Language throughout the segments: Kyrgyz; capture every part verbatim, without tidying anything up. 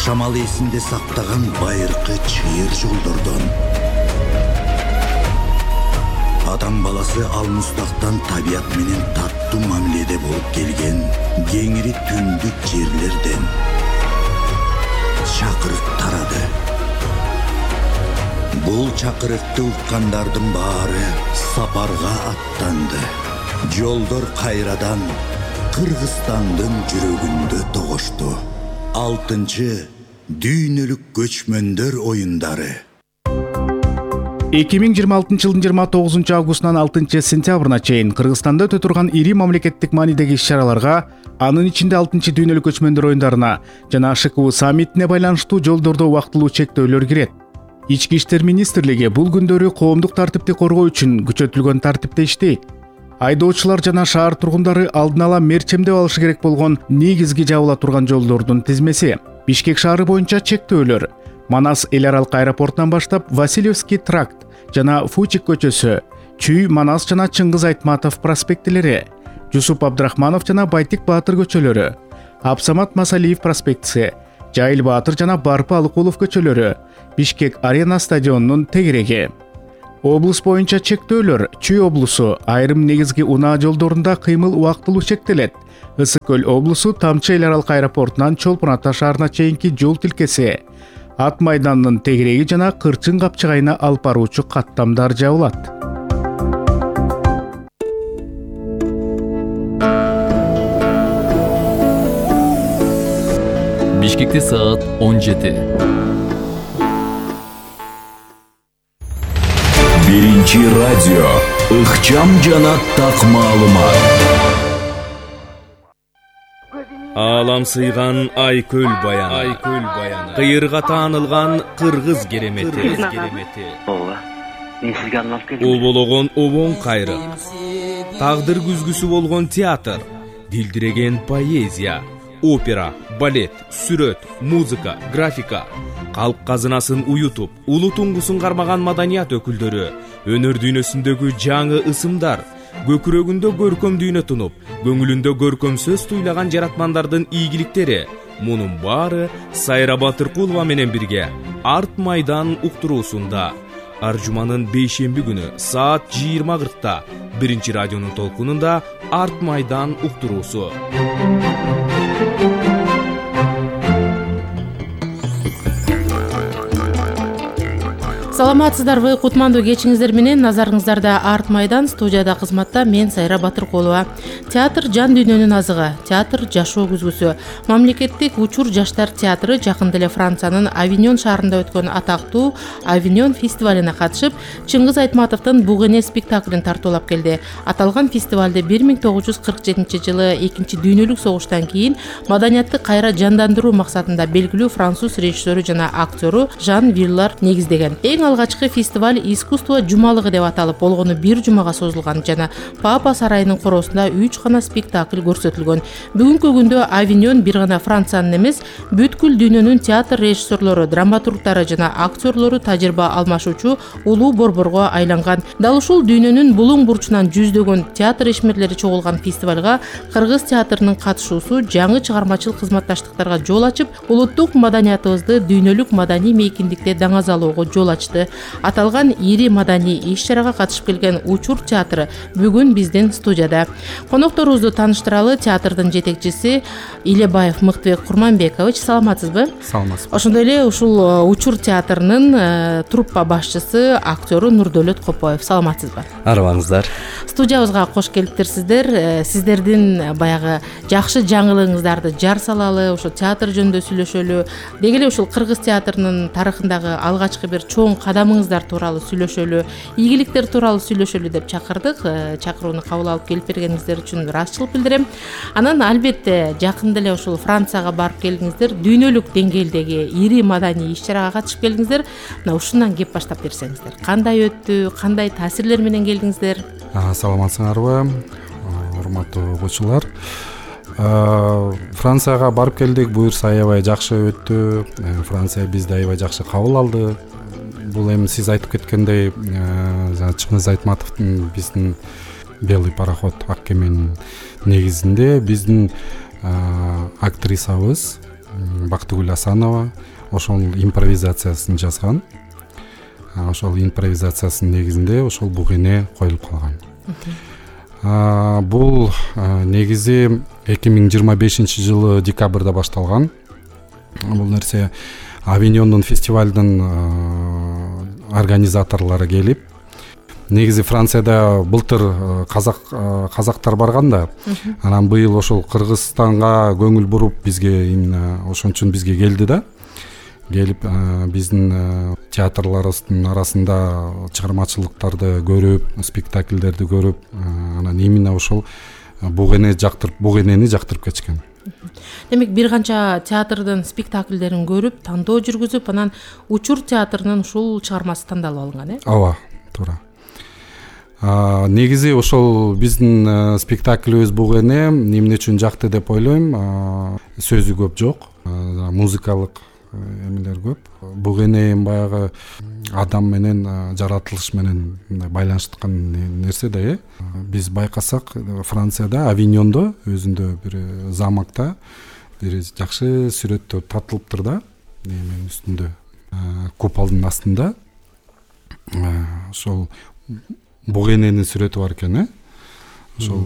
жашамал эсинде сактаган байыркы чыйыр жолдордон. Адам баласы алмустактан табият менен таттуу мамиледе болуп келген кеңири түндүк жерлерден чакырык тарады. Бул чакырыкты уккандардын баары сапарга аттанды. Жолдор кайрадан Кыргызстандын жүрөгүндө тогошту. Алтынчы дүйнөлүк көчмөндөр оюндары. эки миң жыйырма алтынчы жылдын жыйырма тогузунчу августунан алтынчы сентябрына чейин Кыргызстанда өтө турган ири мамлекеттик маанидеги иш-чараларга, анын ичинде алтынчы дүйнөлүк көчмөндөр оюндарына жана ШКУ саммитине байланыштуу жолдордо убактылуу чектөөлөр кирет. Ички иштер министрлиги бул күндөрү коомдук тартипти коргоо үчүн күчөтүлгөн тартипте иштейт. Айдоочулар жана шаар тургундары алдын ала мерчемдеп алышы керек болгон негизги жабыла турган жолдордун тизмеси. Бишкек шаары боюнча чектөөлөр Манас эл аралык аэропортунан баштап Васильевский тракт жана Фучик көчөсү, Чүй, Манас жана Чыңгыз Айтматов проспектилери, Жусуп Абдрахманов жана Байтик Баатыр көчөлөрү, Абсамат Масалиев проспектиси, Жайыл Баатыр жана Барпы Алыкулов көчөлөрү, Бишкек арена стадионунун тегереги. Облус боюнча чектөөлөр Чүй облусу айрым негизги унаа жолдорунда кыймыл убактылуу чектелет. Ысык көл облусу Тамчы эл аралык аэропортунан Чолпон Ата шаарына чейинки жол тилкеси, Ат майданынын тегереги жана Кырчын капчыгайына алып баруучу каттамдар жабылат. Бишкекте саат он жети. Биринчи радио ыкчам жана так маалымат. Алам сыйган Айкөл баяны, Айкөл баяны. Кыйырга таанылган кыргыз керемети. Ооба. Мен сизге арнап келдим. Обологон обоң кайры. Тагдыр күзгүсү болгон театр, дилдиреген поэзия, опера, балет, сүрөт, музыка, графика, калк казынасын уютуп, улуу туңгусун кармаган маданият өкүлдөрү, өнөр дүйнөсүндөгү жаңы ысымдар, көкүрөгүндө көркөм дүйнө тунуп, көңүлүндө көркөм сөз туйлаган жаратмандардын ийгиликтери. Мунун баары Сайра Батыркулова менен бирге Арт майдан уктуруусунда ар жуманын бейшемби күнү саат жыйырма кыркта биринчи радионун толкунунда Арт майдан уктуруусу. Саламатсыздарбы, кутмандуу кечиңиздер менен назарыңыздарда Арт майдан, студияда кызматта мен Сайра Батыркулова. Театр жан дүйнөнүн азыгы, театр жашоо күзгүсү. Мамлекеттик учур жаштар театры жакында эле Франциянын Авиньон шаарында өткөн атактуу Авиньон фестивалине катышып, Чыңгыз Айтматовдун Бугене спектаклин тартуулап келди. Аталган фестивалды бир миң тогуз жүз кырк жетинчи жылы экинчи дүйнөлүк согуштан кийин маданиятты кайра жандандыруу максатында белгилүү француз режиссеру жана актеру Жан Виллар негиздеген. Эң алгачкы фестиваль искусство жумалыгы деп аталып, болгону бир жумага созулган жана Папа сарайынын коросунда үч гана спектакль көрсөтүлгөн. Бүгүнкү күндө Авиньон бир гана Франциянын эмес, бүткүл дүйнөнүн театр режиссерлору, драматургдары жана актерлору тажрыйба алмашуучу улуу борборго айланган. Дал ушул дүйнөнүн булуң бурчунан жүздөгөн театр ишмерлери чогулган фестивалга кыргыз театрынын катышуусу жаңы чыгармачыл кызматташтыктарга жол ачып, улуттук маданиятыбызды дүйнөлүк маданий мейкиндикте даңазалоого жол ачты. Аталган ири маданий иш-чарага катышып келген Учур театры бүгүн биздин студияда. Конокторубузду тааныштыралы театрдын жетекчиси Илебаев Мыктыбек Курманбекович. Саламатсызбы? Саламатсызбы. Ошондой эле ушул Учур театрынын труппа башчысы, актеру Нурдөлөт Копоев. Саламатсызбы? Арыбаңыздар. Студиябызга кош келиптирсиздер. Сиздердин баягы жакшы жаңылыгыңыздарды жар салалы, ошо театр жөнүндө сүйлөшөлү. Деги эле ушул кыргыз театрынын тарыхындагы алгачкы бир чоң кадамыңыздар тууралуу сүйлөшөлү, ийгиликтер тууралуу сүйлөшөлү деп чакырдык. Чакырууну кабыл алып келип бергениңиздер үчүн ыраазычылык билдирем. Анан албетте жакында эле ушул Францияга барып келдиңиздер, дүйнөлүк деңгээлдеги ири маданий иш-чарага катышып келдиңиздер. Мына ушундан кеп баштап берсеңиздер. Кандай өттү, кандай таасирлер менен келдиңиздер? Саламатсыңарбы, урматтуу угуучулар. Францияга барып келдик, буюрса аябай жакшы өттү. Франция бизди аябай жакшы кабыл алды. Бул эми сиз айтып кеткендей, жана Чыңгыз Айтматовдун биздин Белый пароход ак кеменин негизинде биздин актрисабыз Бактыгүл Асанова ошол импровизациясын жазган. Ошол импровизациясынын негизинде ошол буг эне коюлуп калган. Бул негизи эки миң жыйырма бешинчи жылы декабрда башталган. Бул нерсе Авиньондун фестивалдын организаторлору келип, негизи Францияда былтыр казак казактар барган да, анан быйыл ошол Кыргызстанга көңүл буруп бизге именно ошон үчүн бизге келди да. Келип биздин театрларыбыздын арасында чыгармачылыктарды көрүп, спектакльдерди көрүп, анан именно ошол буг эне жактырып, буг энени жактырып кетишкен. Демек бир канча театрдын спектакльдерин көрүп, тандоо жүргүзүп, анан Учур театрынын ушул чыгармасы тандалып алынган, э? Ооба, туура. Негизи ошол биздин спектакльбиз буг эне эмне үчүн жакты деп ойлойм. Сөзү көп жок, музыкалык эмелер көп. Буг эне баягы адам менен, жаратылыш менен байланыштыккан нерсе да, э. Биз байкасак, Францияда, Авиньондо, өзүндө бир замокто бир жакшы сүрөттөр татылыптыр да, эменин үстүндө, куполдун астында. Ошол буг эненин сүрөтү бар экен, э. Ошол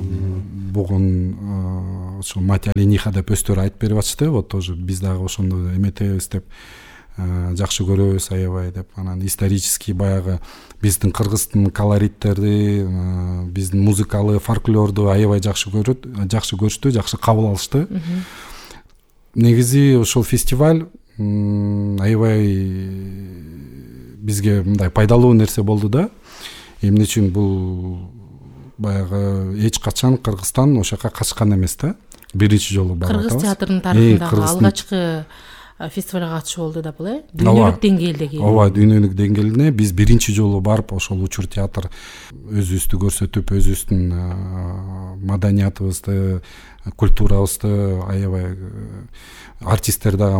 бугун ошол мать олениха деп өздөрү айтып берип атышты. Вот тоже биз дагы ошондо эметебиз деп, жакшы көрөбүз аябай деп. Анан исторический баягы биздин кыргыздын колориттерди, биздин музыкалык фольклорду аябай жакшы көрөт, жакшы көрүштү, жакшы кабыл алышты. Негизи ошол фестиваль аябай бизге мындай пайдалуу нерсе болду да. Эмне үчүн бул баягы эч качан Кыргызстан ошол жака качкан эмес да. Биринчи жолу барып атабыз. Кыргыз театрынын тарыхындагы алгачкы фестивалга катышуу болду да бул, э? Дүйнөлүк деңгээлдеги. Ооба, дүйнөлүк деңгээлде биз биринчи жолу барып ошол Учур театр өзүбүздү көрсөтүп, өзүбүздүн маданиятыбызды, культурабызды аябай артисттер дагы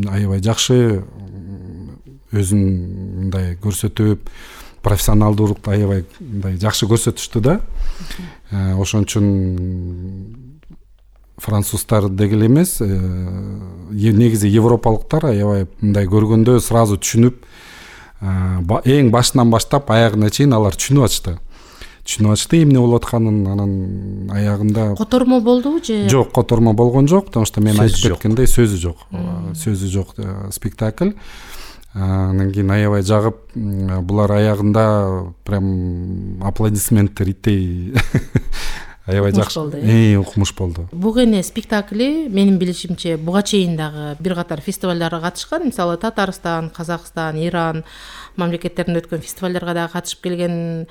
аябай жакшы өзүн мындай көрсөтүп, профессионалдуулукту аябай мындай жакшы көрсөтүштү да. Ошон үчүн француздар дегеле эмес, негизи европалыктар аябай мындай көргөндө сразу түшүнүп, эң башынан баштап аягына чейин алар түшүнүп атышты. Түшүнүп атышты эмне болуп атканын. Анан аягында котормо болдубу же? Жок, котормо болгон жок, потому что мен айтып кеткендей сөзү жок. Сөзү жок спектакль. Анан кийин аябай жагып, булар аягында прям аплодисменттер иттей аябай жакшы, э, укмуш болду. Буг эне спектакли менин билишимче буга чейин дагы бир катар фестивалдарга катышкан, мисалы Татарстан, Казакстан, Иран мамлекеттеринде өткөн фестивалдарга дагы катышып келген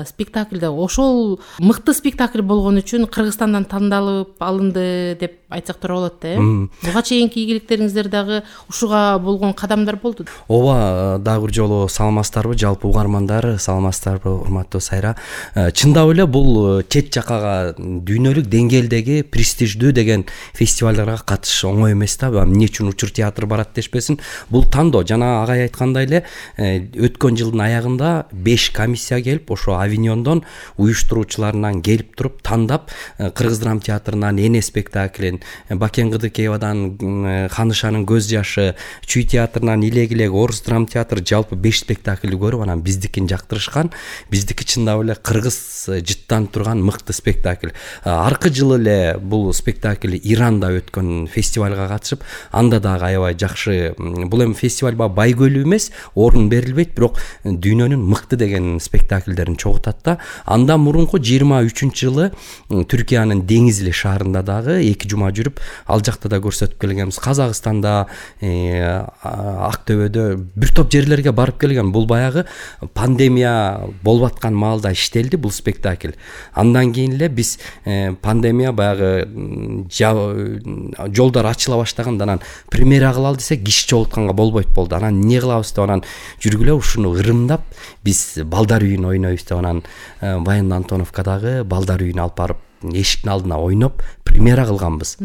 спектакльде ошол мыкты спектакль болгон үчүн Кыргызстандан тандалып алынды деп айтсак туура болот да, э? Буга чейинки ийгиликтериңиздер дагы ушуга болгон кадамдар болду. Ооба, дагы бир жолу саламатсыздарбы, жалпы угармандар, саламатсыздарбы, урматтуу Сайра. Чындап эле бул чет жакка дүйнөлүк деңгээлдеги престиждүү деген фестивалдарга катышыш оңой эмес да. Эмне үчүн Учур театр барат дешпесин? Бул тандоо, жана агай айткандай эле, өткөн жылдын аягында беш комиссия келип, ошо Авиньондон уюштуруучуларынан келип туруп тандап, Кыргыз драма театрынан Эне спектаклин, Бакен Кыдыкеевадан Ханышанын көз жашы, Чүй театрынан Илегилек, Орус драма театры жалпы беш спектакль көрүп, анан биздикин жактырышкан. Биздики чындап эле кыргыз жыттан турган мыкты спектакль. Аркы жылы эле бул спектакль Иранда өткөн фестивалга катышып, анда дагы аябай жакшы. Бул эми фестиваль бай көйлүү эмес, орун берилбейт, бирок дүйнөнүн мыкты деген спектакльдерин чогултат да. Андан мурунку жыйырма үчүнчү жылы Түркиянын Деңизли шаарында дагы эки жума жүрүп, ал жакта да көрсөтүп келгенбиз. Казакстанда, Актөбөдө бир топ жерлерге барып келген. Бул баягы пандемия болуп аткан маалда иштелди бул спектакль. Андан кийин эле биз пандемия баягы жолдор ачыла баштаганда анан премьера кылалы десек киши чогултканга болбойт болду. Анан эмне кылабыз деп анан жүргүлө ушуну ырымдап биз балдар үйүн ойнойбуз деп анан Баян Антоновкадагы балдар үйүнө алып барып эшиктин алдына ойноп премьера кылганбыз.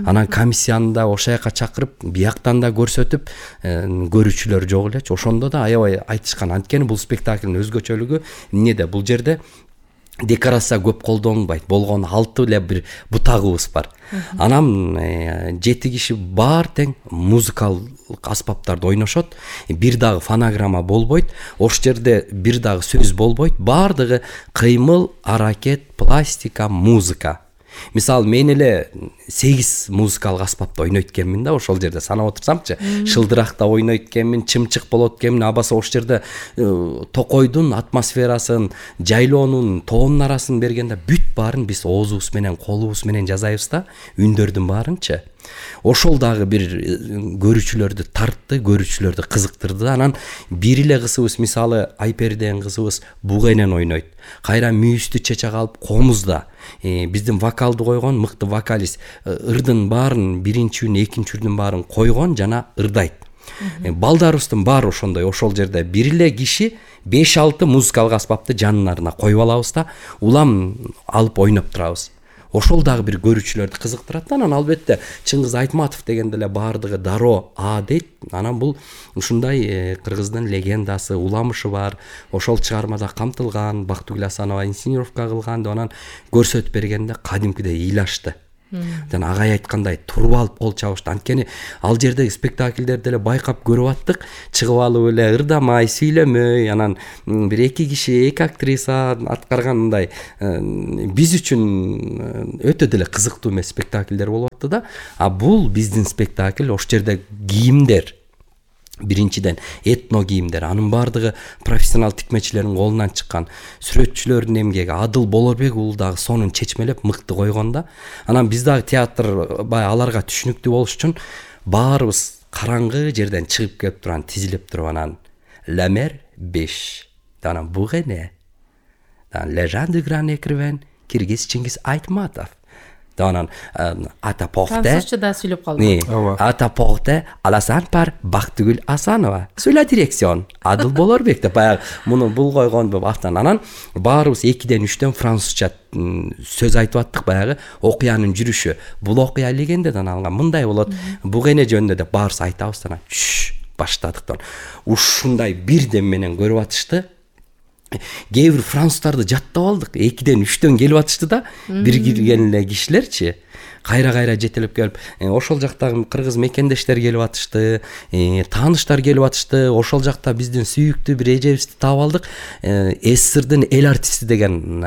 Анан комиссияны да ошол жака чакырып, бияктан да көрсөтүп, көрүүчүлөр жок элечи. Ошондо да аябай айтышкан. Анткени бул спектаклдин өзгөчөлүгү эмнеде? Бул жерде декорация көп колдонбойт, болгону алты эле бир бутагыбыз бар. Анан жети киши баар тең музыкалык аспаптарды ойношот. Бир дагы фонограмма болбойт, ошол жерде бир дагы сөз болбойт, баардыгы кыймыл, аракет, пластика, музыка. Мисалы мен эле сегиз музыкалык аспапты ойнойт экенмин да, ошол жерде санап отурсамчы, шылдыракта ойнойт экенмин, чымчык болот экенмин, абаса ошол жерде токойдун атмосферасын, жайлоонун, тоонун арасын бергенде бүт баарын биз оозубуз менен, колубуз менен жасайбыз да, үндөрдүн баарынчы. Ошол дагы бир көрүүчүлөрдү тартты, көрүүчүлөрдү кызыктырды. Анан бир эле кызыбыз, мисалы Айпери деген кызыбыз буга энен ойнойт. Кайра мүйүздү чечек алып, комузда биздин вокалды койгон мыкты вокалист ырдын баарын, биринчи үн, экинчи үрдүн баарын койгон жана ырдайт. Балдарыбыздын баары ошондой, ошол жерде бир эле киши беш алты музыкалык аспапты жандарына коюп алабыз да, улам алып ойноп турабыз. Ошол дагы бир көрүүчүлөрдү кызыктырат. Анан албетте Чыңгыз Айтматов дегенде эле баардыгы дароо а дейт. Анан бул ушундай кыргыздын легендасы, уламышы бар. Ошол чыгармада камтылган, Бактыгүл Асанова инсценировка кылган деп анан көрсөтүп бергенде кадимкидей ыйлашты. Жана агай айткандай туруп алып кол чабышты. Анткени ал жердеги спектакльдерди эле байкап көрүп аттык, чыгып алып эле ырдамай, сүйлөмөй, анан бир эки киши, эки актриса аткарган мындай биз үчүн өтө деле кызыктуу эмес спектакльдер болуп атты да. А бул биздин спектакль, ошол жерде кийимдер, биринчиден этно кийимдер, анын баардыгы профессионал тикмечилердин колунан чыккан, сүрөтчүлөрдүн эмгеги. Адыл Болорбек уулу дагы сонун чечмелеп мыкты койгон да. Анан биз дагы театр бай аларга түшүнүктүү болуш үчүн баарыбыз караңгы жерден чыгып келип турган, тизилип туруп анан Ламер беш, анан бугене, Лежан du Grand Écrivain Киргиз Чыңгыз Айтматов. Анан ата порте французча да сүйлөп калды. Ата порте Аласан par Бактыгүл Асанова. Sur la direction Адыл Болорбек деп баягы муну бул койгон деп автан. Анан баарыбыз экиден үчтөн французча сөз айтып аттык, баягы окуянын жүрүшү. Бул окуя легендадан алган, мындай болот, бугене жөнүндө деп баарыбыз айтабыз. Анан баштадык. Ушундай бирдем менен көрүп атышты. Кээ бир француздарды жаттап алдык. экиден үчтөн келип атышты да, бир кирген эле кишилерчи. Кайра-кайра жетелеп келип, ошол жактагы кыргыз мекендештер келип атышты, тааныштар келип атышты. Ошол жакта биздин сүйүктүү бир эжебизди таап алдык. СССРдин эл артисти деген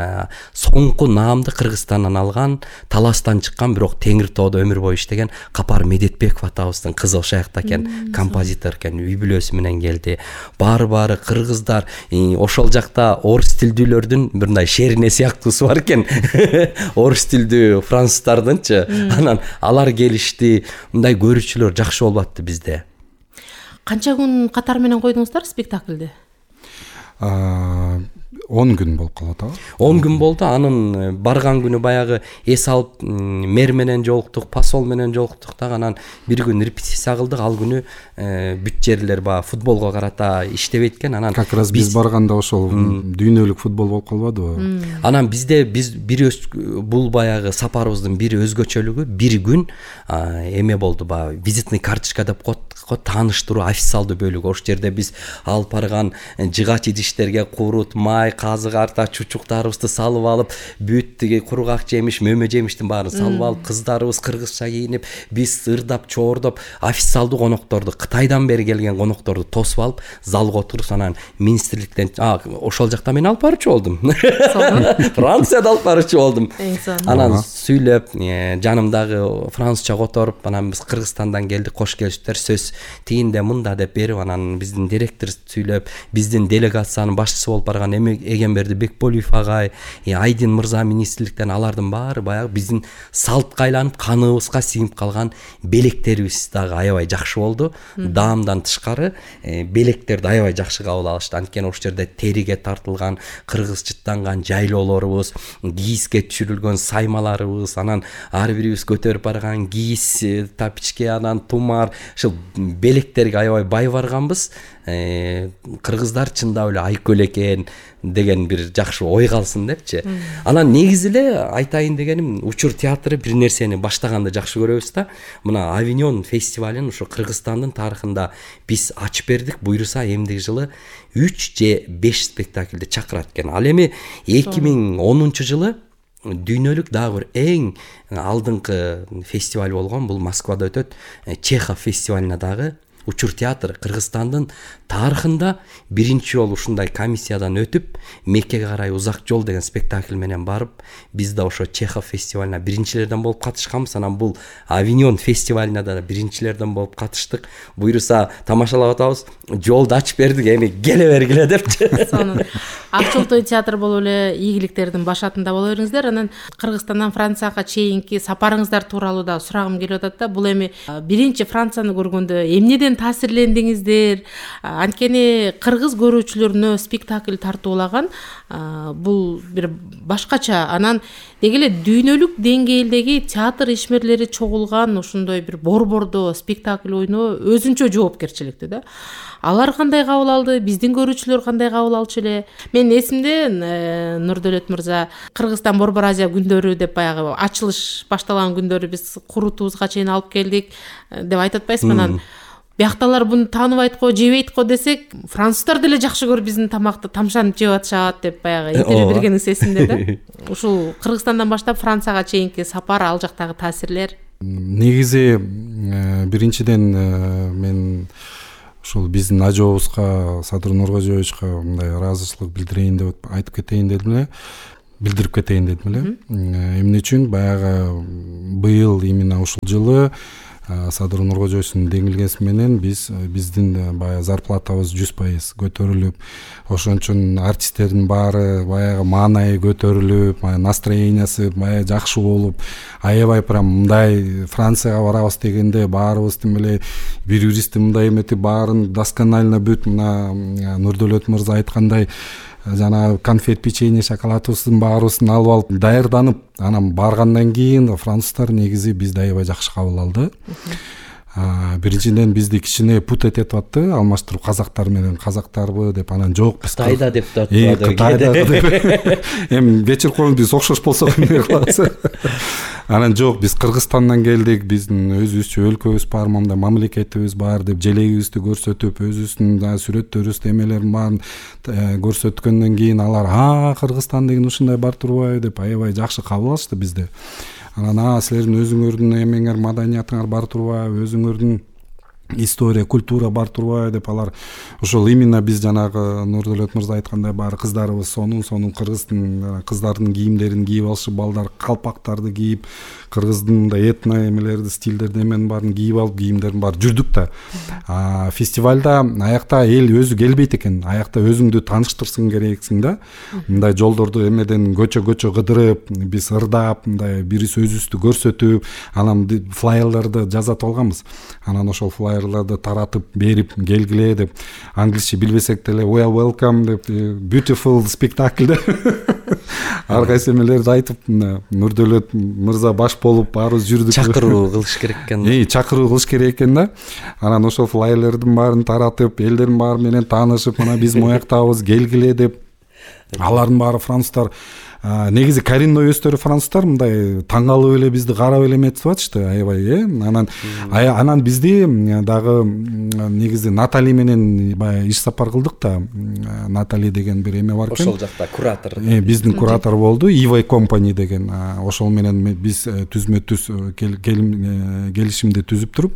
соңку наамды Кыргызстандан алган, Таластан чыккан, бирок Теңир тоодо өмүр бою иштеген Капар Медетбеков атабыздын кызы ошол жакта экен, композитор экен, үй бүлөсү менен келди. Баары-баары кыргыздар, ошол жакта орус тилдүүлөрдүн бир мындай шерине сыяктуусу бар экен. Орус тилдүү француздардынчы. Анан алар келишти, мындай көрүүчүлөр жакшы болуп атты bizde. Канча күн катар менен койдуңуздар спектакльди? он күн болуп калат а. он күн болду. Анын барган күнү баягы эс алып мэр менен жолуктук, посол менен жолуктук да. Анан бир күн репетиция кылдык. Ал күнү бүт жерлер баягы футболго карата иштебейт экен. Анан как раз биз барганда ошол дүйнөлүк футбол болуп калбадыбы? Анан бизде биз бир бул баягы сапарыбыздын бир өзгөчөлүгү, бир күн эме болду, баягы визитный карточка деп коет, тааныштыруу официалдуу бөлүгү. Ошол жерде биз алып барган жыгач идиштерге курут, май, казык арта чучуктарыбызды салып алып, бүт тиги кургак жемиш, мөмө жемиштин баарын салып алып, кыздарыбыз кыргызча кийинип, биз ырдап, чоордоп, официалдуу конокторду, Кытайдан бери келген конокторду тосуп алып, залга отуруп, анан министрликтен, ошол жакта мен алып барчу болдум. Францияда алып барчу болдум. Анан сүйлөп, жанымдагы французча которуп, анан биз Кыргызстандан келдик, кош келиптер, сөз тигинде мында деп берип, анан биздин директор сүйлөп, биздин делегациянын башчысы болуп барган Эгемберди Бекболуев агай, Айдин мырза министрликтен, алардын баары баягы биздин салтка айланып, каныбызга сиңип калган белектерибиз дагы аябай жакшы болду. Даамдан тышкары белектерди аябай жакшы кабыл алышты. Анткени ошол жерде териге тартылган, кыргызчыттанган жайлоолорубуз, кийизге түшүрүлгөн саймаларыбыз, анан ар бирибиз көтөрүп барган кийиз, тапичке, анан тумар, ушул белектерге аябай бай барганбыз. кыргыздар чындап эле айкөл экен деген бир жакшы ой калсын депчи. Анан негизи эле айтайын дегеним, учур театры бир нерсени баштаганды жакшы көрөбүз да. Мына Авиньон фестивалын ушу Кыргызстандын тарыхында биз ачып бердик. Буйруса эмдиги жылы үч же беш спектакльди чакырат экен. Ал эми эки миң онунчу жылы дүйнөлүк дагы бир эң алдыңкы фестиваль болгон, бул Москвада өтөт. Чехов фестивалына дагы учур театр Кыргызстандын тарыхында биринчи жолу ушундай комиссиядан өтүп, Меккеге карай узак жол деген спектакль менен барып, биз да ошо Чехов фестивалына биринчилерден болуп катышканбыз. Анан бул Авиньон фестивалына да биринчилерден болуп катыштык. Буйруса тамашалап атабыз, жолду ачып бердик, эми келе бергиле депчи. Сонун Ак Чолтой театр болуп эле ийгиликтердин башатында боло бериңиздер. Анан Кыргызстандан Францияга чейинки сапарыңыздар тууралуу да сурагым келип атат да. Бул эми биринчи Францияны көргөндө эмнеден таасирлендиңиздер? Анткени кыргыз көрүүчүлөрүнө спектакль тартуулаган бул бир башкача. Анан деги эле дүйнөлүк деңгээлдеги театр ишмерлери чогулган ушундай бир борбордо спектакль ойноо өзүнчө жоопкерчиликтүү да. Алар кандай кабыл алды, биздин көрүүчүлөр кандай кабыл алчу эле? Мен эсимде, Нурдөлөт мырза, Кыргызстан Борбор Азия күндөрү деп баягы ачылыш башталган күндөрү биз курутубузга чейин алып келдик деп айтып атпайсызбы? Анан биакталар буну тааныбайт го, жебейт го десек, француздар деле жакшы көрүп биздин тамакты тамшанып жеп атышат деп баягы интервью бергениңиз эсимде да. Ушул Кыргызстандан баштап Францияга чейинки сапар, ал жактагы таасирлер? Негизи биринчиден мен ушул биздин ажообузга, Садыр Нуркожоевичке мындай ыраазычылык билдирейин деп айтып кетейин дедим эле. Билдирип кетейин дедим эле. Эмне үчүн баягы быйыл именно ушул жылы Садыр Нуркожоевичтин деңилгеси менен биз биздин баягы зарплатабыз жүз пайыз көтөрүлүп, ошон үчүн артисттердин баары баягы маанайы көтөрүлүп, настроениясы баягы жакшы болуп, аябай прям мындай Францияга барабыз дегенде баарыбыз тим эле бири-бирибизди мындай эметип баарын досконально бүт мына Нурдөлөт мырза айткандай жана конфет, печенье, шоколадыбыздын баарыбызын алып алып даярданып, анан баргандан кийин француздар негизи бизди аябай жакшы кабыл алды. Биринчиден бизди кичине пут этип атты, алмаштырып казактар менен казактарбы деп, анан жок биз Кытайда деп атты. Кытайда деп. Эми кечирип коюңуз, биз окшош болсок эмне кылабыз? Анан жок, биз Кыргызстандан келдик, биздин өзүбүзчө өлкөбүз бар, мындай мамлекетибиз бар деп желегибизди көрсөтүп, өзүбүздүн сүрөттөрүбүз, эмелерин баарын көрсөткөндөн кийин алар "А, Кыргызстан деген ушундай бар турбайбы" деп аябай жакшы кабыл алышты бизди. Анан а силердин өзүңөрдүн эмеңер, маданиятыңар бар турбайбы, өзүңөрдүн история, культура бар турбайбы деп алар ошол именно биз жанагы Нурдөлөт мырза айткандай баары кыздарыбыз сонун сонун кыргыздын кыздардын кийимдерин кийип алышып, балдар калпактарды кийип, кыргыздын мындай этно эмелерди, стилдерди эменин баарын кийип алып, кийимдерин баары жүрдүк да. А фестивалда аякта эл өзү келбейт экен, аякта өзүңдү тааныштырсың керексиң да. Мындай жолдорду эмеден көчө-көчө кыдырып, биз ырдап, мындай бирис өзүбүздү көрсөтүп, анан флайерлерди жазатып алганбыз. Анан ошол флайерлерди таратып берип, келгиле деп, англисче билбесек деле "We are welcome" деп, beautiful spectacle деп ар кайсы эмелерди айтып, Нурдөлөт мырза баш болуп баарыбыз жүрдүк. Чакыруу кылыш керек экен. Э, чакыруу кылыш керек экен да. Анан ошол флайерлердин баарын таратып, элдердин баары менен таанышып, мына биз мояктабыз, келгиле деп. Алардын баары француздар, негизи коренной өздөрү француздар мындай таң калып эле бизди карап эле эметип атышты, аябай, э. Анан анан бизди дагы негизи Натали менен баягы иш сапар кылдык да. Натали деген бир эме бар экен. Ошол жакта куратор. Э, биздин куратор болду, Ивай Компани деген. Ошол менен биз түзмө-түз келишимди түзүп туруп,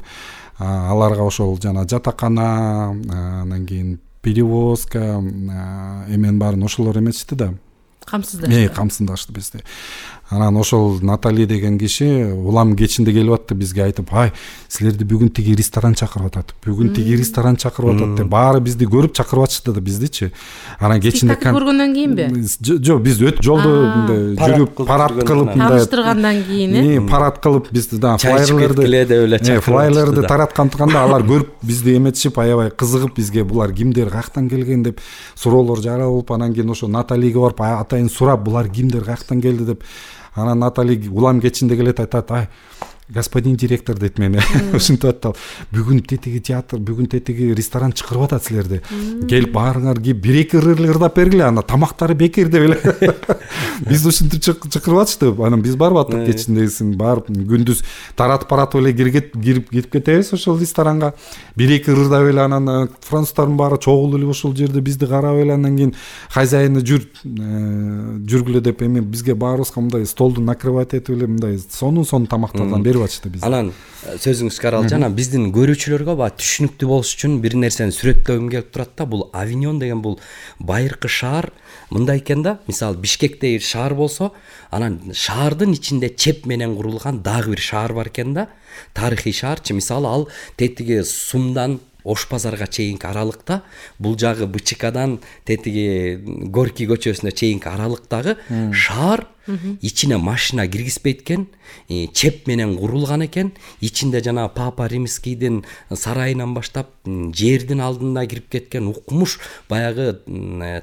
аларга ошол жана жатакана, анан кийин перевозка эмен баарын ошолор эметишти да. Камсыздашты. Э, камсыздашты бизди. Анан ошол Натали деген киши улам кечинде келип атты бизге айтып, "Ай, силерди бүгүн тиги ресторан чакырып атат. Бүгүн тиги ресторан чакырып атат" деп баары бизди көрүп чакырып атышты да биздичи. Анан кечинде көргөндөн кийинби? Жок, биз өт жолдо жүрүп, парад кылып, тааныштыргандан кийин, э? Парад кылып бизди да флайерлерди, флайерлерди тaraткандыганда алар көрүп бизди эметишип, аябай кызыгып бизге булар кимдер, каяктан келген деп суроолор жаралып, анан кийин ошо Наталиге барып атайын сурап, булар кимдер, каяктан келди деп. Анан Натали улам кечинде келет, айтат, "Ай, господин директор дейт мени. Ушинтип атты ал. Бүгүн тетиги театр, бүгүн тетиги ресторан чакырып атат силерди. Келип баарыңар кирип бир эки ырдап бергиле, ана тамактары бекер деп эле. Биз ушинтип чакырып атышты. Анан биз барып аттык кечиндегисин барып күндүз таратып баратып эле кирип кирип кетебиз ошол ресторанга. Бир эки ырдап эле анан француздардын баары чогулуп эле ошол жерде бизди карап эле анан кийин хозяины жүр жүргүлө деп эми бизге баарыбызга мындай столду накрывать этип эле мындай сонун сонун тамактардан берип атышты бизге. Анан сөзүңүз каралчы, анан биздин көрүүчүлөргө баягы түшүнүктүү болуш үчүн бир нерсени сүрөттөгүм келип турат да. Бул Авиньон деген бул байыркы шаар мындай экен да. Мисалы Бишкектеги шаар болсо, анан шаардын ичинде чеп менен курулган дагы бир шаар бар экен да. Тарыхый шаарчы. Мисалы ал тетиги Сумдан Ош базарга чейинки аралыкта, бул жагы БЧКдан тетиги Горький көчөсүнө чейинки аралыктагы шаар ичине машина киргизбейт экен, чеп менен курулган экен. Ичинде жана Папа Римскийдин сарайынан баштап жердин алдына кирип кеткен укмуш баягы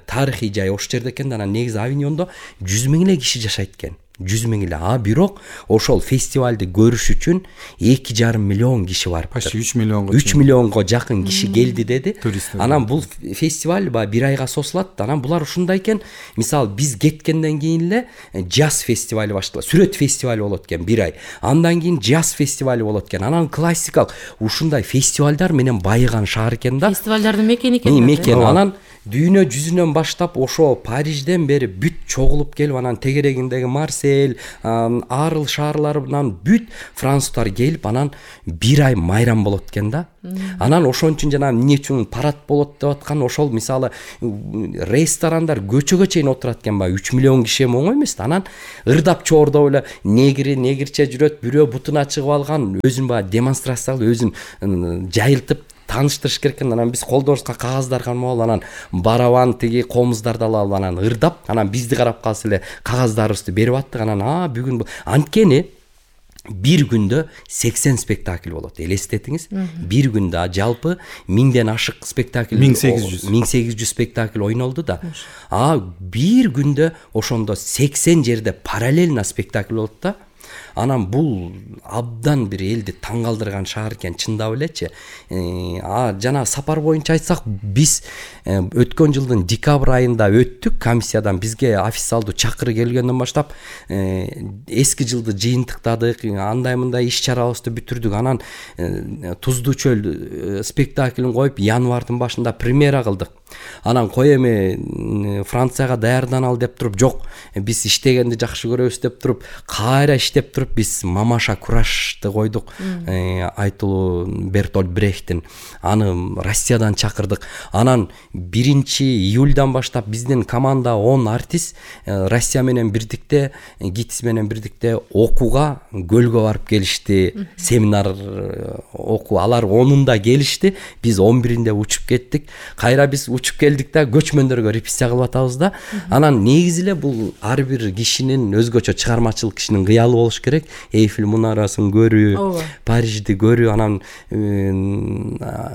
тарыхый жай ош жерде экен. Анан негизи Авиньондо жүз миң эле киши жашайт экен. жүз миң эле. А бирок ошол фестивалды көрүш үчүн эки жарым миллион киши барып. Почти үч миллионго. үч миллионго жакын киши келди деди. Туристтер. Анан бул фестиваль баягы бир айга созулат. Анан булар ушундай экен. Мисалы биз кеткенден кийин эле джаз фестивали башталат. Сүрөт фестивали болот экен бир ай. Андан кийин джаз фестивали болот экен. Анан классикалык ушундай фестивалдар менен байыган шаар экен да. Фестивалдардын мекени экен. Мекен. Анан дүйнө жүзүнөн баштап ошо Парижден бери бүт чогулуп келип, анан тегерегиндеги Марсель, Арл шаарларынан бүт француздар келип, анан бир ай майрам болот экен да. Анан ошон үчүн жана эмне үчүн парад болот деп аткан, ошол мисалы ресторандар көчөгө чейин отурат экен, баягы үч миллион киши эми оңой эмес да. Анан ырдап чоордоп эле негри, негирче жүрөт, бирөө бутуна чыгып алган, өзүн баягы демонстрация кылып, өзүн жайылтып тааныштырыш керек экен. Анан биз колдорубузга кагаздар кармап алып, анан барабан тиги комуздарды алып, анан ырдап, анан бизди карап калса эле кагаздарыбызды берип аттык. Анан а бүгүн анткени бир күндө сексен спектакль болот. Элестетиңиз, бир күндө жалпы миңден ашык спектакль, миң сегиз жүз миң сегиз жүз спектакль ойнолду да. А бир күндө ошондо сексен жерде параллельно спектакль болот да. Анан бул абдан бир элди таң калтырган шаар экен, чындап элечи. А жана сапар боюнча айтсак, биз өткөн жылдын декабрь айында өттүк комиссиядан, бизге официалдуу чакыруу келгенден баштап эски жылды жыйынтыктадык, андай мындай иш чарабызды бүтүрдүк. Анан Туздуу чөл спектаклин коюп январдын башында премьера кылдык. Анан кой эми Францияга даярданалы деп туруп, жок, биз иштегенди жакшы көрөбүз деп туруп, кайра иштеп туруп биз Мамаша Курашты койдук. Айтылуу Бертольд Брехттин. Аны Россиядан чакырдык. Анан биринчи июльдан баштап биздин команда он артист Россия менен бирдикте, ГИТИС менен бирдикте окууга көлгө барып келишти. Семинар окуу, алар онунда келишти. Биз он биринде учуп кеттик. Кайра биз учуп келдик да, көчмөндөргө репетиция кылып атабыз да. Анан негизи эле бул ар бир кишинин өзгөчө чыгармачылык кишинин кыялы болуш керек. Эйфель мунарасын көрүү, Парижди көрүү. Анан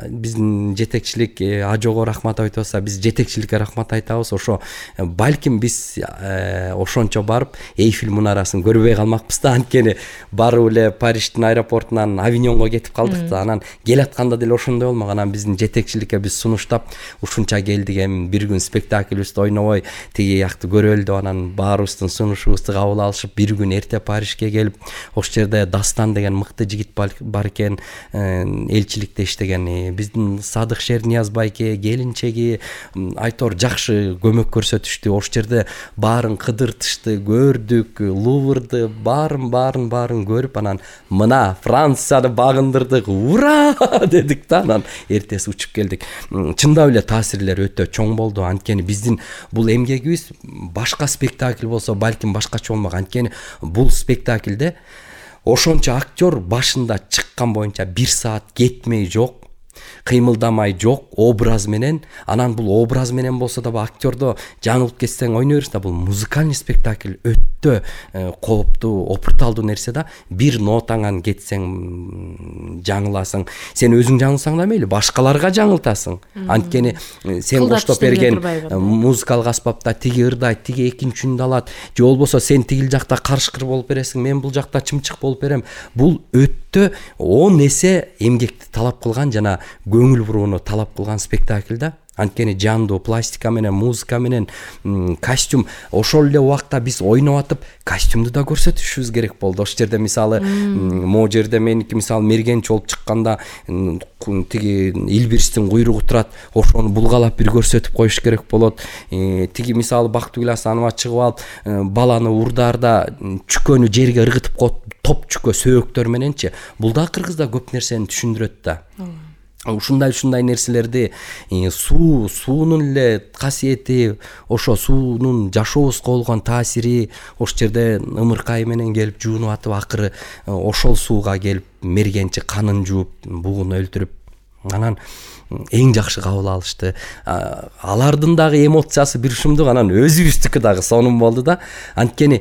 биздин жетекчилик Ажого рахмат айтып атса, биз жетекчиликке рахмат айтабыз. Ошо балким биз ошончо барып Эйфель мунарасын көрбөй калмакпыз да. Анткени барып эле Париждин аэропортунан Авиньонго кетип калдык да. Анан келатканда деле ошондой болмок. Анан биздин жетекчиликке биз сунуштап, ушунча келдик, эми бир күн спектакльбизди ойнобой тиги якты көрөлү деп, анан баарыбыздын сунушубузду кабыл алышып, бир күн эрте Парижге келип, ош жерде Дастан деген мыкты жигит бар экен, элчиликте иштеген. Биздин Садык Шернияз байке, келинчеги айтор жакшы көмөк көрсөтүштү. Ош жерде баарын кыдыртышты, көрдүк, Луврды, баарын баарын баарын көрүп, анан мына Францияны багындырдык, ура дедик да. Анан эртеси учуп келдик. Чындап эле таасирлер өтө чоң болду. Анткени биздин бул эмгегибиз башка спектакль болсо балким башкача болмок. Анткени бул спектакльде ошончо актер башында чыккан боюнча бир саат кетмей жок кыймылдамай жок образ менен, анан бул образ менен болсо дагы актердо жаңылып кетсең ойной бересиң да, бул музыкальный спектакль өтө кооптуу, опурталдуу нерсе да. Бир нотаңан кетсең жаңыласың, сен өзүң жаңылсаң да мейли, башкаларга жаңылтасың. Анткени сен коштоп берген музыкалык аспапта тиги ырдайт, тиги экинчи үндү алат, же болбосо сен тигил жакта карышкыр болуп бересиң, мен бул жакта чымчык болуп берем. Бул өтө он эсе эмгекти талап кылган жана көңүл бурууну талап кылган спектакль да. Анткени жандуу пластика менен, музыка менен, костюм. Ошол эле убакта биз ойноп атып костюмду да көрсөтүшүбүз керек болду. Ошол жерде мисалы могу жерде меники мисалы мергенчи болуп чыкканда тиги илбирстин куйругу турат, ошону булгалап бир көрсөтүп коюш керек болот. Тиги мисалы Бактыгүл Асанова чыгып алып баланы урдаарда чүкөнү жерге ыргытып коюп, топ чүкө сөөктөр мененчи. Бул да кыргызда көп нерсени түшүндүрөт да. Ушундай ушундай нерселерди суу, суунун эле касиети, ошо суунун жашообузга болгон таасири, ошол жерде ымыркай менен келип жуунуп атып, акыры ошол сууга келип мергенчи канын жууп, бугун өлтүрүп, анан эң жакшы кабыл алышты. Алардын дагы эмоциясы бир ушундук, анан өзүбүздүкү дагы сонун болду да. Анткени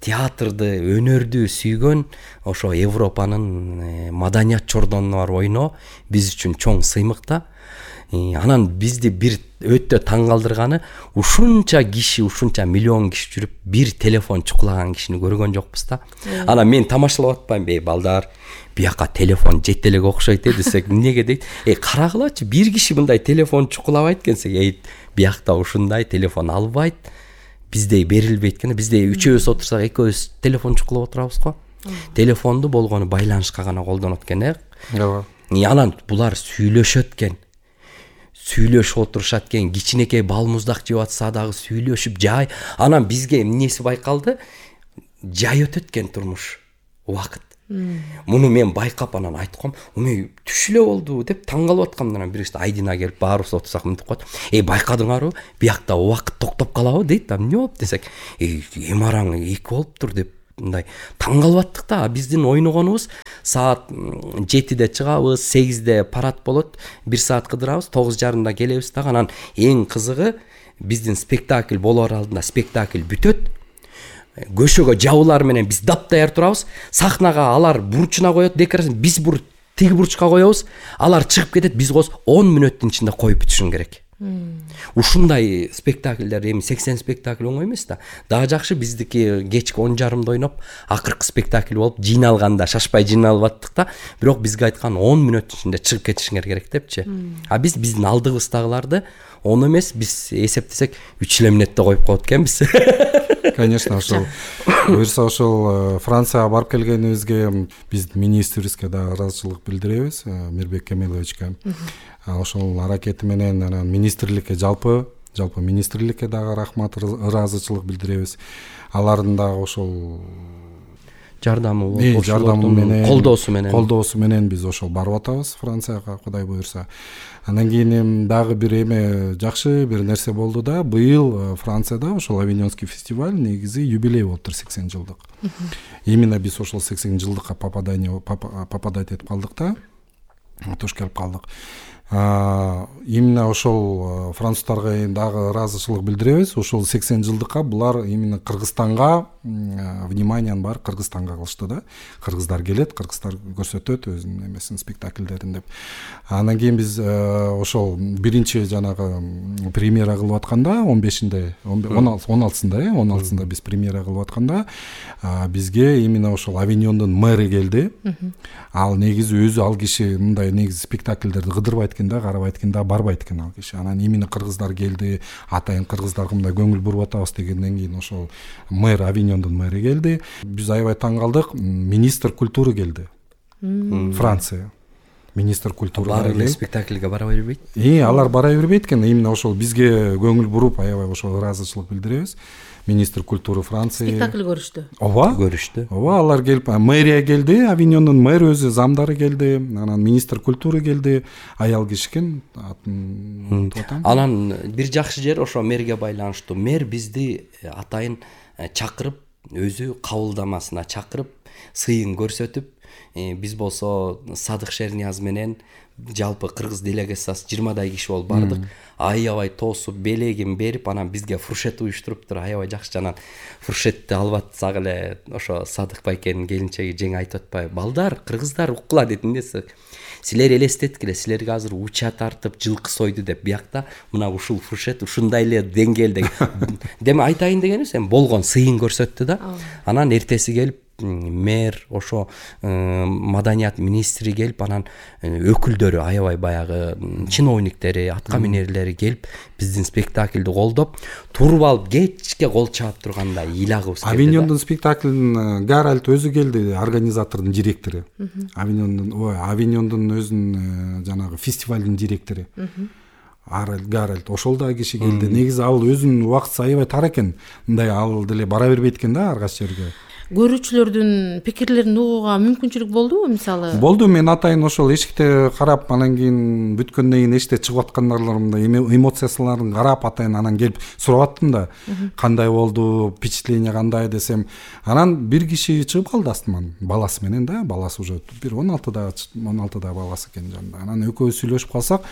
театрды, өнөрдү сүйгөн, ошо Европанын маданият чордонуна барып ойноо биз үчүн чоң сыймык да. Анан бизди бир өтө таң калтырганы, ушунча киши, ушунча миллион киши жүрүп, бир телефон чукулаган кишини көргөн жокпуз да. Анан мен тамашалап атпайм, бей балдар, бияка телефон жете элек окшойт э десек, эмнеге дейт? Э карагылачы, бир киши мындай телефон чукулабайт экенсек, э биякта ушундай телефон албайт, биздей берилбейт экен. Биздей үчөөбүз отурсак, экөөбүз телефон чукулап отурабыз го. Телефонду болгону байланышка гана колдонот экен, э. Ооба. Анан булар сүйлөшөт экен. Сүйлөшүп отурушат экен, кичинекей бал муздак жеп атса дагы сүйлөшүп, жай. Анан бизге эмнеси байкалды? Жай өтөт экен турмуш, убакыт. Муну мен байкап анан айткам, "Уме түш эле болду" деп таң калып аткам. Анан бирisi Айдина келип баарыбыз отурсак мынтип коет. "Эй, байкадыңарбы? Биякта убакыт токтоп калабы?" дейт. "Эмне болуп?" десек, "Эй, эми араң эки болуптур" деп мындай таң калып аттык да. Биздин ойногонубуз саат жетиде чыгабыз, сегизде парад болот, бир саат кыдырабыз, тогуз жарымда келебиз дагы. Анан эң кызыгы, биздин спектакль болоор алдында спектакль бүтөт. Көшөгө жабуулар менен биз даптаяр турабыз. Сахнага алар бурчуна коет декорацияны, биз бур тиги бурчка коебуз. Алар чыгып кетет, биз коз он мүнөттүн ичинде коюп бүтүшүң керек. Ушундай спектакльдер, эми сексен спектакль оңой эмес да. Дагы жакшы биздики кечки он жарымда ойноп, акыркы спектакль болуп, жыйналганда шашпай жыйналып аттык да. Бирок бизге айткан он мүнөттүн ичинде чыгып кетишиңер керек депчи. А биз биздин алдыбыздагыларды он эмес, биз эсептесек үч эле мүнөттө коюп коет экенбиз. Конечно, ошол буюрса ошол Францияга барып келгенибизге биз министрибизге да ыраазычылык билдиребиз, Мирбек Кемеловичке. Ошол аракети менен анан министрликке жалпы жалпы министрликке дагы рахмат, ыраазычылык билдиребиз. Алардын дагы ошол жардамы, жардамы менен, колдоосу менен колдоосу менен биз ошол барып атабыз Францияга, Кудай буюрса. Андан кийин дагы бир эме жакшы бир нерсе болду да. Быйыл Францияда ошол Авиньонский фестиваль негизи юбилей болуптур, сексен жылдык. Именно биз ошол сексен жылдыкка попадание попадать этип калдык да. Туш келип калдык. Именно ошол француздарга дагы ыраазычылык билдиребиз. Ошол сексен жылдыкка булар именно Кыргызстанга вниманиянын баары Кыргызстанга кылышты да. Кыргыздар келет, кыргыздар көрсөтөт өзүнүн эмесин, спектакльдерин деп. Андан кийин биз ошол биринчи жанагы премьера кылып атканда он бешинде, он алтысында, э, он алтысында биз премьера кылып атканда бизге именно ошол Авиньондун мэры келди. Ал негизи өзү ал киши мындай негизи спектакльдерди кыдырбайт экен да, карабайт экен да, барбайт экен ал киши. Анан именно кыргыздар келди, атайын кыргыздарга мындай көңүл буруп атабыз дегенден кийин ошол мэр, Авиньондун мэри келди. Биз аябай таң калдык. Министр культуры келди. Франция. Министр культуры баары спектакльге бара бербейт. И алар бара бербейт экен. Именно ошол бизге көңүл буруп аябай ошол ыраазычылык билдиребиз. Министр культуры Франция. Спектакль көрүштү. Ооба, көрүштү. Ооба, алар келип, мэрия келди, Авиньондун мэр өзү, замдары келди, анан министр культуры келди, аял киши экен, атын тотам. Анан бир жакшы жер ошо мэрге байланыштуу. Мэр бизди атайын чакырып, өзү кабылдамасына чакырып, сыйын көрсөтүп, биз болсо Садык Шернияз менен жалпы кыргыз делегациясы жыйырмадай киши болуп бардык. Аябай тосуп белегин берип, анан бизге фуршет уюштуруптур. Аябай жакшы. Анан фуршетти алып атсак эле ошо Садык байкенин келинчеги жеңе айтып атпайбы? Балдар, кыргыздар уккула деди. Эмнеси? Силер элестеткиле, силерге азыр уча тартып жылкы сойду деп, биякта мына ушул фуршет ушундай эле деңгээлде. Деме айтайын дегени сен болгон сыйын көрсөттү да. Анан эртеси келип мэр, ошо маданият министри келип, анан өкүлдөрү, аябай баягы чиновниктери, атка минерлери келип биздин спектакльди колдоп, туруп алып кечке кол чаап турганда ыйлагыбыз келди. Авиньондун спектаклин Гаральд өзү келди, организатордун директору. Авиньондун, ой, Авиньондун өзүнүн жанагы фестивалдын директору. Гаральд ошол да киши келди. Негизи ал өзүнүн убактысы аябай тар экен. Мындай ал деле бара бербейт экен да ар кайсы жерге. Көрүүчүлөрдүн пикирлерин угууга мүмкүнчүлүк болдубу, мисалы? Болду, мен атайын ошол эшикте карап, анан кийин бүткөндөн кийин эшикте чыгып аткандарымда эмоциясыларын карап, атайын анан келип сурап аттым да, кандай болду, впечатление кандай десем, анан бир киши чыгып калды астыман, баласы менен да, баласы уже бир он алтыда он алтыда баласы экен жанында. Анан экөөбүз сүйлөшүп калсак,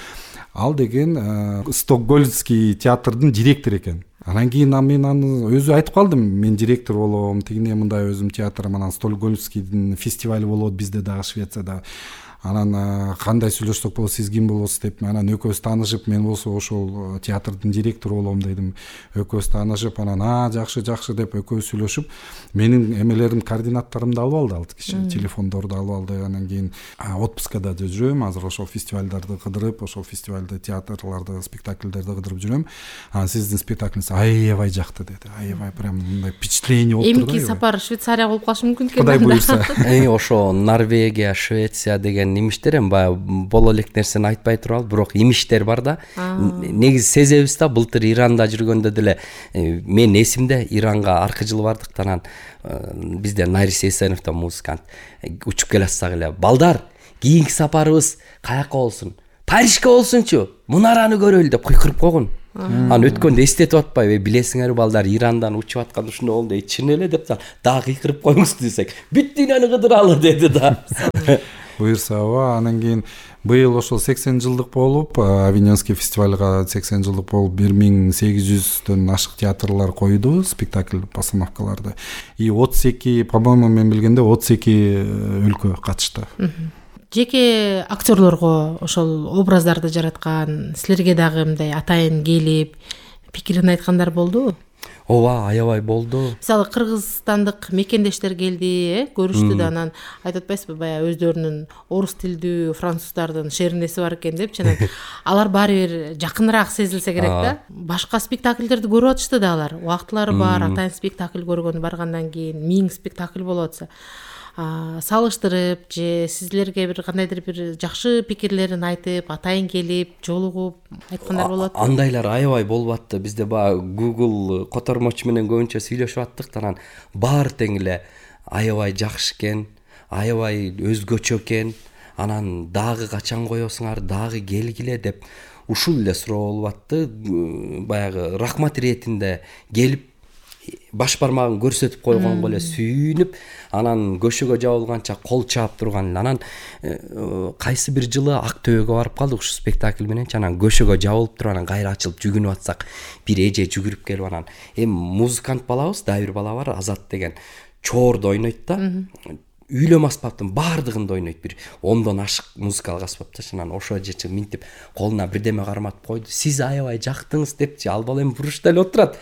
ал деген Стокгольмский театрдын директору экен. Анан кийин мен аны өзү айтып калдым, мен директор болом, тигине мындай өзүм театрым, анан Стокгольмскийдин фестивали болот бизде дагы Швецияда. Анан кандай сүйлөшсөк болот, сиз ким болосуз деп, анан экөөбүз таанышып, мен болсо ошол театрдын директору болом дедим. Экөөбүз таанышып, анан а жакшы жакшы деп экөөбүз сүйлөшүп, менин эмелерим, координаттарымды алып алды ал киши, телефондорду алып алды. Анан кийин отпускада жүрөм, азыр ошол фестивалдарды кыдырып, ошол фестивалды, театрларды, спектакльдерди кыдырып жүрөм. Анан сиздин спектаклиңиз аябай жакты деди. Аябай прям мындай впечатление болуп турду. Эмки сапар Швейцария болуп калышы мүмкүн экен. Кудай буйрса. Ошо Норвегия, Швеция деген имиштер эми баягы боло элек нерсени айтпай туралы, бирок имиштер бар да. Негизи сезебиз да, былтыр Иранда жүргөндө деле мен эсимде, Иранга аркы жылы бардык, анан бизде Нарис Эсенов да музыкант учуп келатсак эле, балдар, кийинки сапарыбыз каяка болсун? Парижге болсунчу, мунараны көрөлү деп кыйкырып койгон. Анан өткөндө эстетип атпайбы, билесиңерби балдар, Ирандан учуп атканда ушундай болду, чын эле деп дагы кыйкырып коюңуз десек, бүт дүйнөнү кыдыралы деди да. Буюрса, ооба. Анан кийин быйыл ошол сексен жылдык болуп, Авиньонский фестивалга сексен жылдык болуп, бир миң сегиз жүздөн ашык театрлар койду спектакль постановкаларды. И отуз эки, по-моему, мен билгенде отуз эки өлкө катышты. Жеке актерлорго ошол образдарды жараткан, силерге дагы мындай атайын келип, пикирин айткандар болдубу? Ооба, аябай болду. Мисалы кыргызстандык мекендештер келди, э, көрүштү да, анан айтып атпайсызбы, баягы өздөрүнүн орус тилдүү француздардын шеринеси бар экен деп, жана алар баары бир жакыныраак сезилсе керек да. Башка спектакльдерди көрүп атышты да алар. Убактылары бар, атайын спектакль көргөнү баргандан кийин миң спектакль болуп атса. Салыштырып же сизлерге бир кандайдыр бир жакшы пикирлерин айтып, атайын келип, жолугуп айткандар болот. Андайлар аябай болуп атты. Бизде баягы Google котормочу менен көбүнчө сүйлөшүп аттык, анан баары тең эле аябай жакшы экен, аябай өзгөчө экен. Анан дагы качан коесуңар, дагы келгиле деп ушул эле суроо болуп атты. Баягы рахмат иретинде келип баш бармагын көрсөтүп койгонго эле сүйүнүп, анан көшөгө жабылганча кол чаап турган. Анан кайсы бир жылы Ак Төбөгө барып калдык ушу спектакль менен, анан көшөгө жабылып туруп, анан кайра ачылып жүгүнүп атсак, бир эже жүгүрүп келип, анан эми музыкант балабыз, дагы бир бала бар, Азат деген, чоорду ойнойт да. Үйлөм аспаптын баардыгында ойнойт, бир ондон ашык музыкалык аспапта. Анан ошо жечи минтип колуна бирдеме карматып койду. Сиз аябай жактыңыз депчи, ал бала эми буручта эле отурат.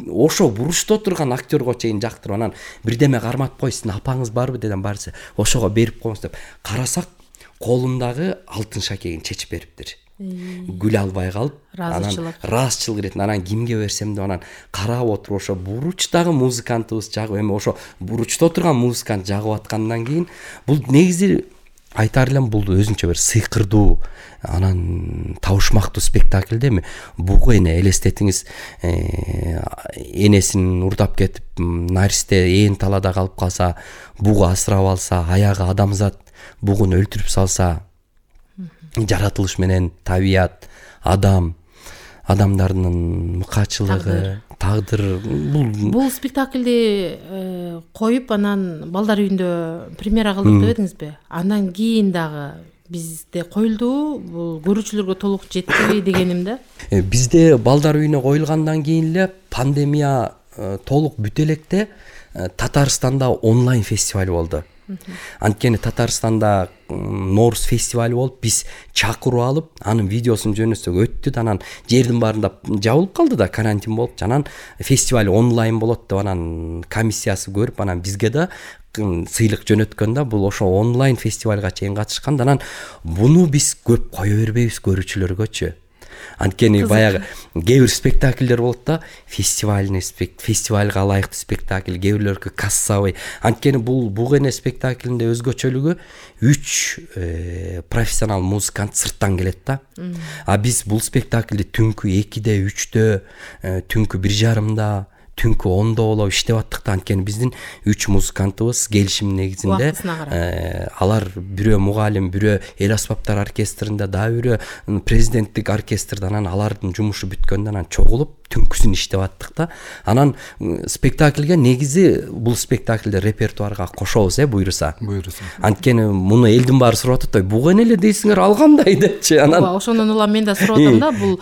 Ошо буручта отурган актерго чейин жактырып, анан бирдеме карматып кой, сиздин апаңыз барбы дедим, барса ошого берип коюңуз деп. Карасак, колундагы алтын шакегин чечип бериптир. Гүл албай калып, анан ыраазычылык иретин, анан кимге берсем деп, анан карап отуруп, ошо буручтагы музыкантыбыз жагып, эми ошо буручта отурган музыкант жагып аткандан кийин, бул негизи айтар элем, бул өзүнчө бир сыйкырдуу, анан табышмактуу спектакль да. Эми бугу эне элестетиңиз, энесин урдап кетип, Наристе ээн талада калып калса, бугу асырап алса, аягы адамзат бугун өлтүрүп салса, жаратылыш менен табият, адам, адамдардын мыкаачылыгы, тагдыр. Бул бул спектакльди коюп анан балдар үйүндө премьера кылдык деп эдиңизби? Андан кийин дагы бизде коюлдубу? Бул көрүүчүлөргө толук жетти дегеним да. Бизде балдар үйүнө коюлгандан кийин эле пандемия толук бүтө электе Татарстанда онлайн фестиваль болду. Анткени Татарстанда Норус фестиваль болуп, биз чакыруу алып, анын видеосун жөнөтсөк өттү да, анан жердин баарында жабылып калды да, карантин болуп, анан фестиваль онлайн болот деп анан комиссиясы көрүп, анан бизге да сыйлык жөнөткөн да, бул ошо онлайн фестивальга чейин катышкан. Анан буну биз көп кое бербейбиз көрүүчүлөргөчү. Анткени баягы кээ бир спектакльдер болот да, фестивальный фестивальга ылайыктуу спектакль, кээ бирлөргө кассовый. Анткени бул бугене спектакльинде өзгөчөлүгү үч профессионал музыкант сырттан келет да. А биз бул спектакльди түнкү экиде, үчтө, түнкү бир жарымда, түнкү ондо болуп иштеп аттык да. Анткени биздин үч музыкантыбыз келишим негизинде, алар бирөө мугалим, бирөө эл аспаптар оркестринде, дагы бирөө президенттик оркестрде, анан алардын жумушу бүткөндөн анан чогулуп түнкүсүн иштеп аттык да. Анан спектакльге негизи бул спектакльди репертуарга кошобуз, э буйруса. Буйруса. Анткени муну элдин баары сурап атат, буга эле дейсиңер, ал кандай депчи. Анан ошондон улам мен да сурап атам да, бул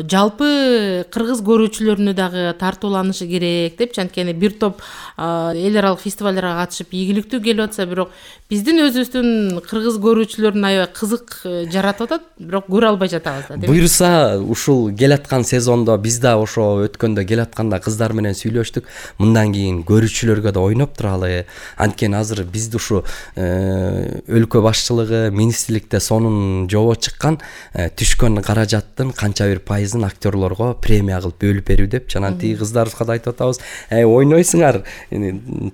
жалпы кыргыз көрүүчүлөрүнө дагы тартууланышы керек депчи. Анткени бир топ эл аралык фестивалдарга катышып ийгиликтүү келип атса, бирок биздин өзүбүздүн кыргыз көрүүчүлөрүн аябай кызык жаратып атат, бирок көрө албай жатабыз да. Буйруса ушул келаткан сезондо биз да ошо өткөндө келатканда кыздар менен сүйлөштүк, мындан кийин көрүүчүлөргө да ойноп туралы. Анткени азыр бизди ушу өлкө башчылыгы, министрликте сонун жобо чыккан, түшкөн каражаттын канча бир пайызын актерлорго премия кылып бөлүп берүү депчи. Анан тиги кыздарыбызга да айтып атабыз, эй ойнойсуңар,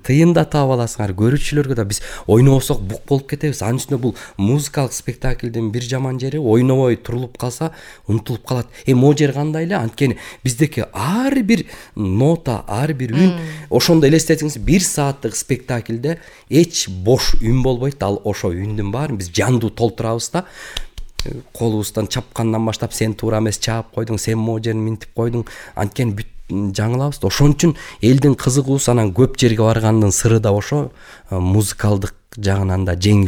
тыйын да таап аласыңар, көрүүчүлөргө да. Биз ойнобосок бук болуп кетебиз. Анын үстүнө бул музыкалык спектакльдин бир жаман жери, ойнобой турулуп калса унутулуп калат. Э могу жер кандай эле? Анткени биздеки ар бир нота, ар бир үн, ошондо элестетиңиз, бир сааттык спектакльде эч бош үн болбойт. Ал ошо үндүн баарын биз жандуу толтурабыз да. Колубуздан чапкандан баштап, сен туура эмес чаап койдуң, сен могу жерин минтип койдуң. Анткени бүт жаңылабыз. Ошон үчүн элдин кызыгуусу анан көп жерге баргандын сыры да ошо, музыкалдык жагынан да жең